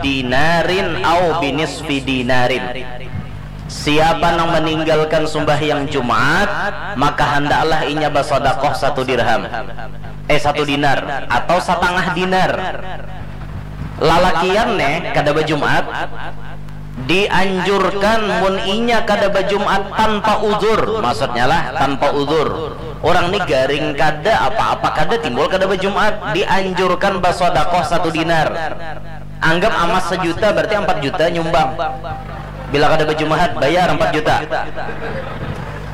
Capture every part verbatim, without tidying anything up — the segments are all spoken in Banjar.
dinarin au binisfi dinarin. Siapa nang meninggalkan sumbahyang Jumat, maka hendaklah inya basodakoh satu dirham. Eh, satu dinar atau satangah dinar. Lalakian ne kada bajumat, dianjurkan mun inya kada bajumat tanpa uzur, maksudnya lah tanpa uzur. Orang ni garing kada, apa-apa kada, timbul kada bajumat, dianjurkan basodakoh satu dinar. Anggap amas sejuta, berarti empat juta nyumbang. Bila kada bajumat, bayar empat juta.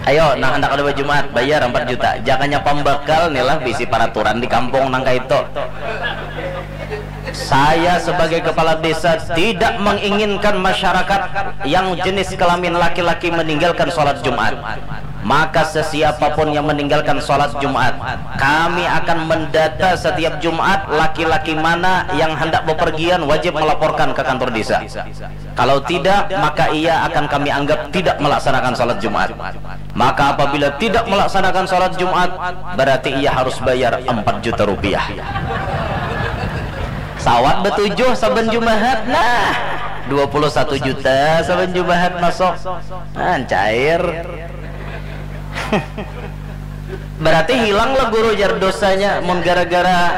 Ayo, nah, hendak kada bajumat, bayar empat juta. Jangannya pambakal nih lah, bisi peraturan di kampung nang kayak itu. Saya sebagai kepala desa tidak menginginkan masyarakat yang jenis kelamin laki-laki meninggalkan sholat Jumat. Maka sesiapapun yang meninggalkan sholat Jumat, kami akan mendata setiap Jumat laki-laki mana yang hendak bepergian wajib melaporkan ke kantor desa. Kalau tidak, maka ia akan kami anggap tidak melaksanakan sholat Jumat. Maka apabila tidak melaksanakan sholat Jumat, berarti ia harus bayar empat juta rupiah. Sawat betujuh saban Jumahat, nah, dua puluh satu juta saban Jumahat masuk. Nah, cair. Berarti hilang lah guru jar dosanya mun gara-gara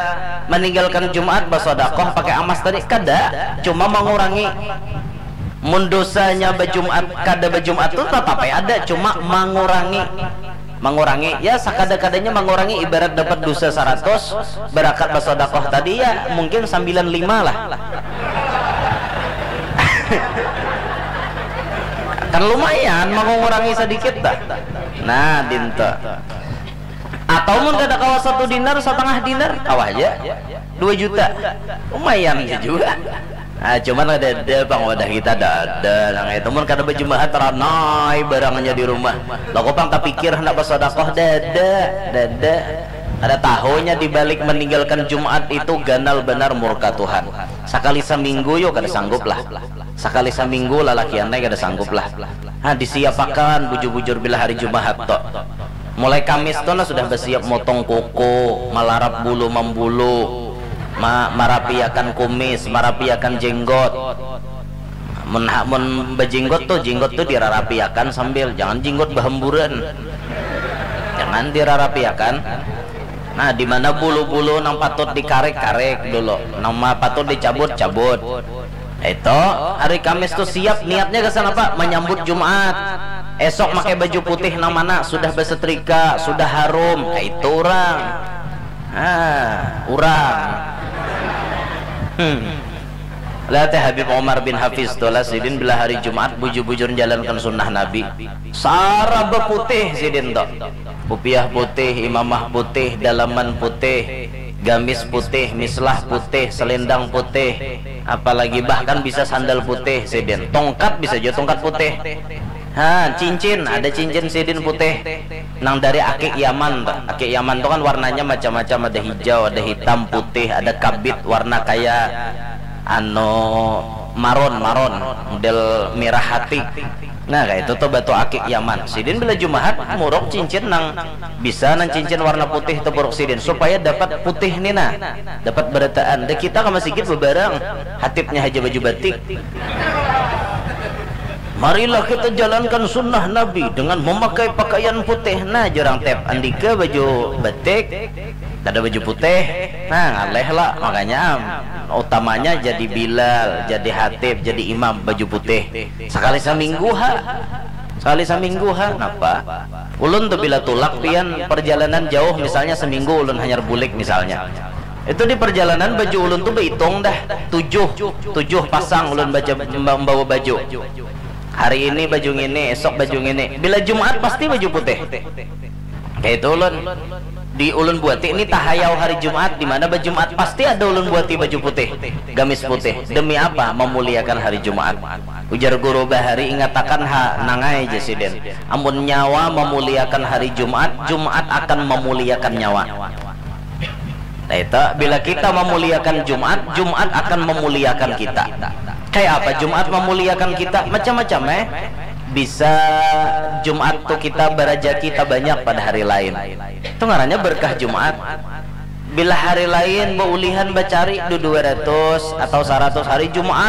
meninggalkan Jumat basodakoh pakai amas tadi. Kada, cuma mengurangi. Mun dosanya bajumat kada bajumat tu tetap ada, cuma mengurangi. Mengurangi, ya, sakada-kadanya mengurangi, ibarat dapat dosa seratus, berakat basodakoh tadi, ya, mungkin sembilan lima lah. Kan lumayan mengurangi sedikit dah. Nah, dinta. Atau mun kada kawa satu dinar, setengah dinar, kawa aja. Dua juta. Lumayan aja juga. Ah, cuman ada ada pang wadah kita ada ada nang itu mun kada bajumahat ranai barangnya di rumah. Loko pang tapikir hendak basodakoh dada dada. Kada tahunya di balik meninggalkan Jumat itu ganal benar murka Tuhan. Sakali saminggu yo kada sanggup lah. Sakali saminggu lalakian kada sanggup lah. Ha, disiapakan bujur-bujur bila hari Jumahat to. Mulai Kamis tu nah sudah basiap motong kuku, malarap bulu mambulu, ma marapiakan kumis, marapiakan jenggot. Mun ha- mun bajenggot tu, jenggot tu dirarapiakan sambil, jangan jenggot bahamburan. Jangan dirarapiakan. Nah, di mana bulu-bulu nang patut dikarek-karek dulu, nang ma- patut dicabut-cabut. Itu hari Kamis tu siap niatnya gasan apa? Menyambut Jumat. Esok pakai baju putih nang mana? Sudah bersetrika, sudah harum. Nah, itu orang. Ah, orang. Hmm. Lihat ya Habib Omar bin Hafiz tu lah sidin bila hari Jumat bujur-bujur menjalankan sunnah Nabi. Saraba putih sidin tu. Kupiah putih, imamah putih, dalaman putih, gamis putih, mislah putih, selendang putih, apalagi bahkan bisa sandal putih sidin. Tongkat bisa juga tongkat putih. Ha, cincin, ada cincin sidin putih. Nang dari akik Yaman tuh. Akik Yaman tuh kan warnanya macam-macam, ada hijau, ada hitam, putih, ada kabit warna kayak anu maron, maron, model mirah hati. Nah, kayak itu tuh batu akik Yaman. Sidin bila Jumahat muruk cincin nang bisa nang cincin warna putih tuh buruk sidin supaya dapat putih nih nah. Dapat berataan. Dah kita ke masjid bebarang. Hatibnya aja baju batik. Marilah kita jalankan sunnah Nabi dengan memakai pakaian putih. Nah, jurang tep andika baju batik, kada baju putih. Nah, ngaleh lah. Makanya utamanya jadi Bilal, jadi hatib, jadi imam baju putih. Sekali seminggu ha. Sekali seminggu ha. Napa? Ulun tuh bila tulak pian perjalanan jauh misalnya seminggu ulun hanyar bulik misalnya. Itu di perjalanan baju ulun tuh berhitung dah tujuh tujuh pasang ulun baca membawa baju. Hari ini baju ngini, esok baju ngini. Bila Jumat pasti baju putih. Kayak itu ulun. Di ulun buati ini tahayau hari Jumat di mana baju Jumat pasti ada ulun buati baju putih, gamis putih. Demi apa? Memuliakan hari Jumat. Ujar guru bahari ingatakan ha nangai jasiden. Amun nyawa memuliakan hari Jumat, Jumat akan memuliakan nyawa. Nah, itu bila kita memuliakan Jumat, Jumat akan memuliakan kita. Kayak apa Jumat memuliakan kita? Macam-macam eh. Bisa Jumat tuh kita berajaki kita banyak pada hari lain. Itu ngarannya berkah Jumat. Bila hari lain beulihan bacari du dua ratus atau seratus hari Jumat